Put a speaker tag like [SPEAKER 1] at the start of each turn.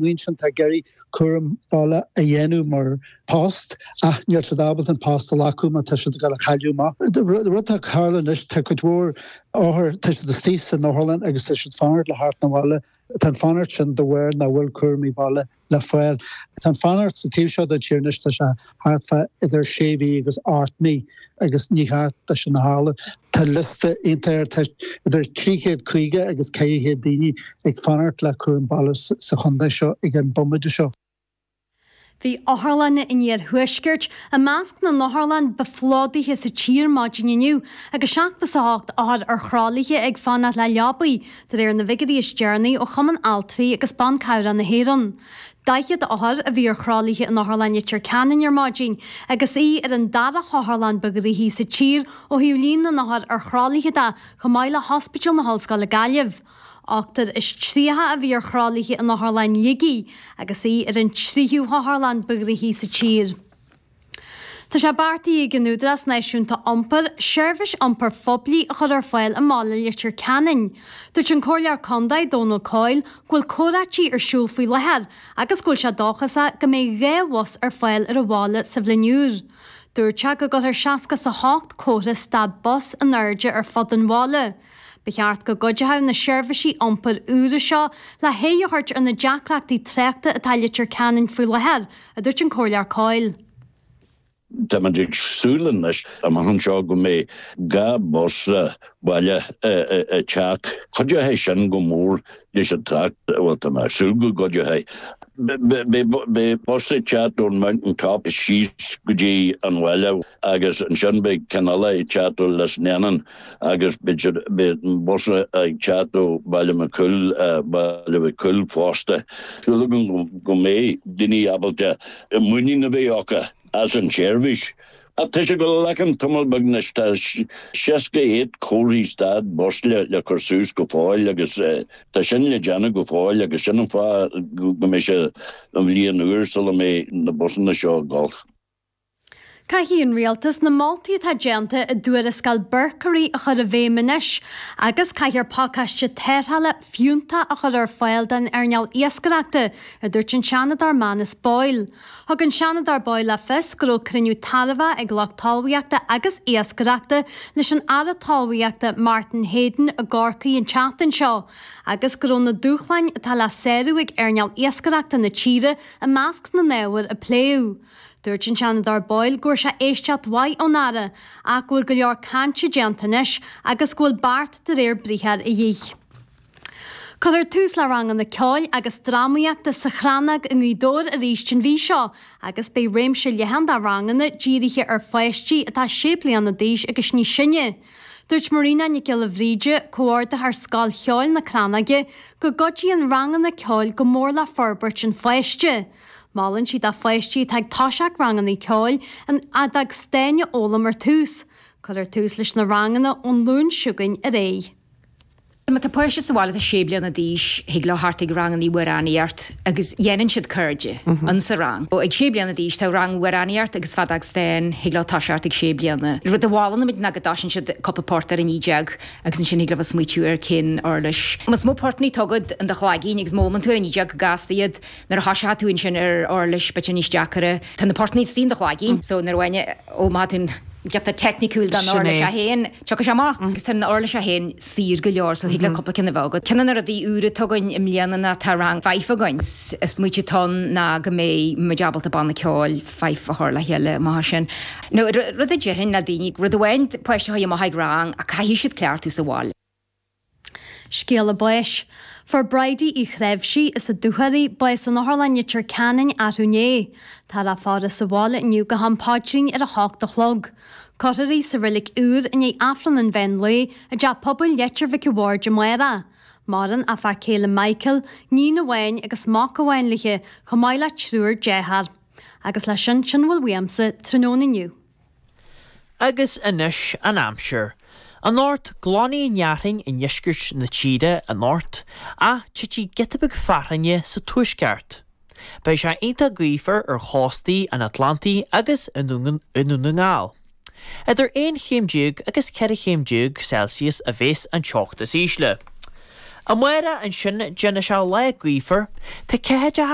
[SPEAKER 1] Bhuíon sin atá ag iarraidh cúram baile a dhéanamh mar post ach níl siad ábalta an post a ghlacadh má tá siad ag dul a chailleadh amach. Rud atá ag tarlú anois, tá cuid mhór othar, tá siad istigh san otharlann agus tá siad ag fanacht le theacht 'na bhaile. Tá an fanacht sin de bharr nach bhfuil cúramaí baile le fáil. Tá an fanacht sa taobh seo den tír anois, tá sé thart fá idir sé mhí agus 8 mí agus ní cheart dó sin a tharlú. Tá liosta iontach, tá idir 350 agus 400 daoine ag fanacht le cúram baile sa chontae seo ag an bomaite seo.
[SPEAKER 2] Bhí otharlanna an iarthuaiscirt i measc na n-otharlann ba phlódaithe sa tír maidin inniu agus 78 othar ar thralaithe ag fanacht le leabaí, de réir na bhfigiúirí is deireanaí ó Chumann Altraí agus Ban Cabhrach na hÉireann. 40 othar a bhí ar thralaithe in Otharlann Leitir Ceanainn ar maidin agus í ar an dara hotharlann ba ghnoithí sa tír ó thaobh líon na n-othar ar thralaithe de, chomh maith le hOspidéal na hOllscoile Gaillimh. 38 a bhí ar thralaithe in Otharlann Shligigh agus í ar an tríú hotharlann ba ghnoithí sa tír. Tá sé beartaithe ag an Údarás Náisiúnta Iompair seirbhís iompair phoiblí a chur ar fáil i mbaile Leitir Ceanainn. Dúirt an Comhairleoir Contae, Dónal Coyle, go bhfuil comhráití ar siúl faoi láthair agus go bhfuil sé dóchasach go mbeidh 2 bhus ar fáil ar an bhaile sa bhliain úr. Dúirt sé go gcuirfear 68 comhartha stad bus in airde ar fud an bhaile. Ba cheart go gcuideodh na seirbhísí iompair úra seo le haghaidh a thabhairt ar na deacrachtaí tráchta atá i Leitir Ceanainn faoi láthair, a dúirt an Comhairleoir Coyle.
[SPEAKER 3] Táimid ag súil anois amach anseo go mbeidh 2 bus baile ag teacht. Cuideoidh sin go mór leis an trácht, bhuel tá mé ag súil go gcuideoidh. Beidh bus ag teacht ón Mountain Top síos go dtí an bhaile agus ansin beidh ceann eile ag teacht ó Lisnennan agus beidh an bus ag teacht ó Baile Mac Cumhaill, Baile Mhic Cumhaill fosta. Súil agam go mbeidh daoine ábalta muinín a bheith acu as an tseirbhís. Ach tá sé ag dul a ghlacadh tamall beag anois, tá 68 comharthaí stad bus le cur suas go fóill agus tá sin le déanamh go fóill agus sin an fáth go mbeidh sé an bhliain úr sula mbeidh na busanna seo ag dul.
[SPEAKER 2] Caithfidh an Rialtas na moltaí atá déanta i dtuarascáil Berkery a chur i bhfeidhm anois agus caithfear pacáiste tarrthála fiúntach a chur ar fáil don earnáil iascaireachta, a dúirt an Seanadóir Manus Boyle. Thug an Seanadóir Boyle le fios go raibh cruinniú tairbheach ag lucht talmhaíochta agus iascaireachta leis an Aire Talmhaíochta Martin Heydon i gCorcaigh an tseachtain seo agus go raibh na dúshláin atá le sárú ag earnáil iascaireachta na tíre i measc na n-ábhar a pléadh. Dúirt an Seanadóir Boyle go bhfuair sé éisteacht mhaith ón Aire ach go bhfuil go leor cainte déanta anois agus go bhfuil beart de réir briathair a dhíth. Cuirfear tús le ranganna ceoil agus drámaíochta sa Chrannóg i nGaoth Dobhair arís an mhí seo agus beidh réimse leathan de ranganna dírithe ar pháistí atá 6 bliana d'aois agus níos sine. Dúirt Marina Nic Giolla Bhríde, Comhordaitheoir Scoil Cheoil na Crannóige, go gcuidíonn ranganna ceoil go mór le forbairt an pháiste. Molann sí do pháistí atá ag toiseacht ranganna ceoil an fheadóg stáin a fhoghlaim ar tús. Cuirfear tús leis na ranganna ón Luan seo chugainn ar aghaidh.
[SPEAKER 4] Má tá páiste sa bhaile atá sé bliana d'aois, thig leo theacht ag rangannaí amhránaíocht agus dhéanann siad cairde in sa rang. Ag sé bliana d'aois tá rang amhránaíocht agus feadóg stáin, thig leo toiseacht ag sé bliana. Rud a mholann muid ná go dtoisíonn siad cúpla port ar an E agus ansin thig leo bheith smaoitiú ar cén uirlis. Más mó portannaí atá agat in do chloigín agus má fhoghlaimíonn tú ar an E go gasta iad, nuair a thoiseoidh tú ansin ar uirlis beidh sé níos deacaire. Tá na portannaí istigh in do chloigín so nuair a bhain ó má tá tú giota teicniciúil don uirlis é féin, tiocfaidh sé amach. Agus tá an uirlis é féin saor go leor so thig le cúpla ceann a bheith agat. Ceann de na rudaí úra atá againn i mbliana ná tá rang fife againn. Is smaoitiú atá ann ná go mbeidh muid ábalta banna ceoil fife a chur le chéile amach as sin. Nó rud a déarfainn le daoine, rud amháin páiste a chuir amach ag rang ach caithfidh siad cleachtadh sa bhaile.
[SPEAKER 2] Scéala báis. Fuair Bridie Uí Chreimhsí, as an Dúchoraidh, bás in Otharlann Leitir Ceanainn arú inné. Táthar á faire sa bhaile inniu go ham paidrín ar a hocht a chlog. Cuirfear í sa reilig úr i ndiaidh Aifreann an mheán lae i dTeach Pobail Leitir Mhic a' Bhaird amárach. Maireann a fear céile Michael, níon amháin agus mac amháin léi, chomh maith le triúr dearthár. Agus leis sin, sin a bhfuil uaimse tráthnóna inniu.
[SPEAKER 5] Agus anois an aimsir. Anocht, glanfaidh an fhearthainn i ndeisceart na tíre anocht, ach titfidh giota beag fearthainne sa tuaisceart. Beidh sé iontach gaofar ar chóstaí an Atlantaigh agus i nDún na nGall. Idir 11 chéim agus 14 chéim Celsius a bheas an teocht is ísle. Amárach ansin déanfaidh sé lá gaofar. Tá ceathaideacha.